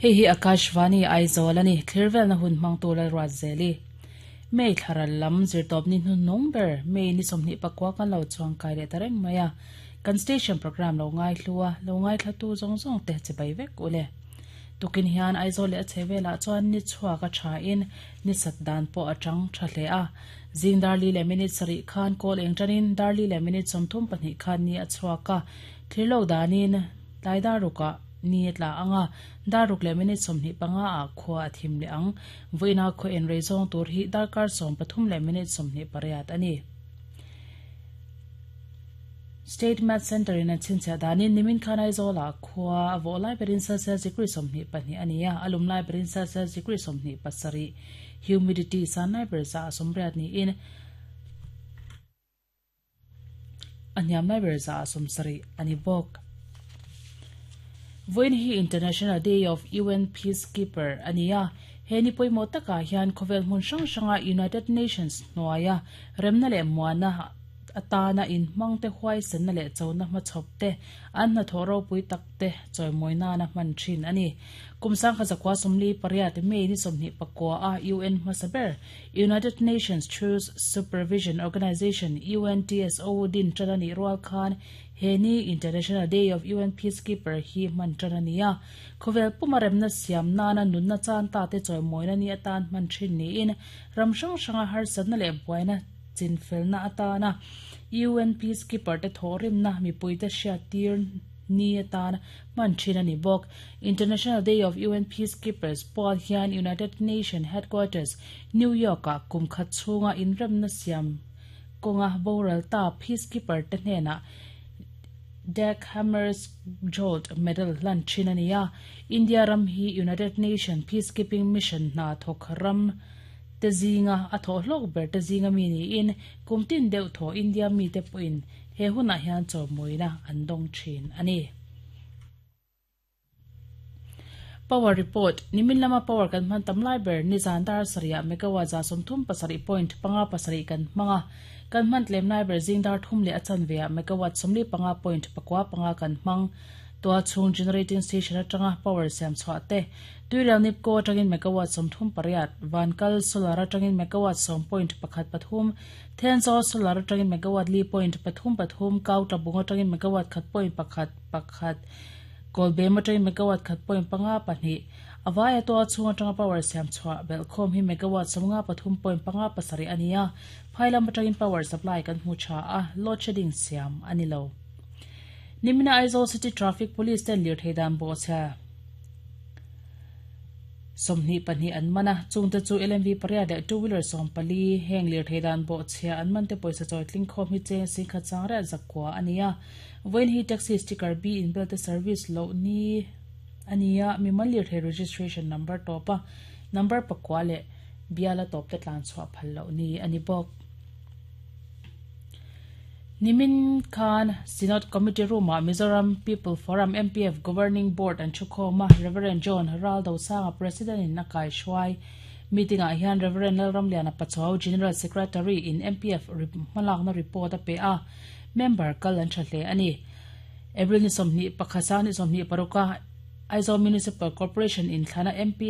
Hei hi Akashvani Aizawl a ni, Thlirvelna hun hmangtu Lalruatzeli. May thlaral lam zirtawpni hnuhnung ber May ni 29 kan lo chuang kai leh ta reng mai a, kan station programme lo ngaihlu a, lo ngaithlatu zawng zawng te chibai vek u le. Tukin hian Aizawl leh a chhehvelah chuan ni chhuak a tha in ni sat dan pawh a chang tha hle a. Zing dar li leh minute sarih khan kawl eng tanin dar li leh minute 32 khan ni a chhuak a, thlir lo danin tlai dar rukah ni a tla ang a, dar ruk leh minute 25 ah khua a thim leh ang. Vawiina khaw en rei zawng tur hi darkar 13 leh minute 28 a ni. State Math Centre in an chhinchhiah danin nimin khan Aizawlah khua a vawh lai berin Celsius degree 22 a ni a, a lum lai berin Celsius degree 27, humidity san lai ber za a 80 niin a hniam lai ber za a 70 a ni bawk. Vawiin hi International Day of UN Peacekeeper a ni a, he ni pawimawh takah hian khawvel hmun hrang hranga United Nations hnuaia remna leh muana atana inhmangte huaisenna leh chona hmachhawp te an hnathawh ropui tak te chawimawi nana hman thin a ni. Kum 1948 May ni 29 a UN hmasa ber United Nations Truce Supervision Organization, UNTSO, din tan a nih rual khan he ni International Day of UN Peacekeeper hi hman tan a ni a. Khawvel puma remna siam nana nunna chan ta te chawimawina ni atan hman thin niin ram hrang hranga harsatna leh buaina chinfelna atana UN Peacekeeper te thawhrimna mipuite hriat tir ni atan hman thin a ni bawk. International Day of UN Peacekeepers pual hian United Nations Headquarters, New York-ah kum khat chhunga inremna siam kawnga boral ta Peacekeeper te hnenah Dag Hammarskjöld Medal hlan thin a ni a. India ram hi United Nations Peacekeeping Mission hna thawk ram te zinga a thawh hlawk ber te zinga mi niin kum tin deuh thaw India mi te pawhin he hunah hian chawmawina an dawng thin a ni. Power report, Nimin lama power kan hman tam lai ber nizan dar sarihah megawatt 37.57 kan hmang a, kan hman tlem lai ber zing dar thum leh a chanveah megawatt 45.95 kan hmang. Tua chhung generating station atanga power siam chhuah te, Tuirial Nipco atangin megawatt 38, Vankal solar atangin megawatt 10.13, Thenzawl solar atangin megawatt 4.33, Kautlabung atangin megawatt 1.11, Kawlbem atangin megawatt 1.52. A vaia tua chhung atanga power siam chhuah belhkhawm hi megawatt 53.57 a ni a, phailam atangin power supply kan hmu tha a, load shedding siam a ni lo. Nimina Aizawl City Traffic Police ten lirthei dan bawhchhia 22 an man a, chungte chu LMV pariat leh two wheeler 14, heng lirthei dan bawhchhia an man te pawisa chawi tling khawm hi cheng singkhat sangriat zakua a ni a. Vawiin hi taxi sticker B inbel te service loh ni a ni a, mimal lirthei registration number tawp a number pakua leh biala tawp te tlan chhuah phal loh ni a ni bawk. Nimin khan Synod Committee Room-ah Mizoram People Forum, MPF, Governing Board an thukhawm a, Rev. John Raldosanga President-in a kaihruai. Meeting-ah hian Rev. Lalramliana Pachuau, General Secretary, in MPF hmalakna report a pe a, member kal an tha hle a ni. April ni 21 sang ni 26 a Aizawl Municipal Corporation inthlana MP.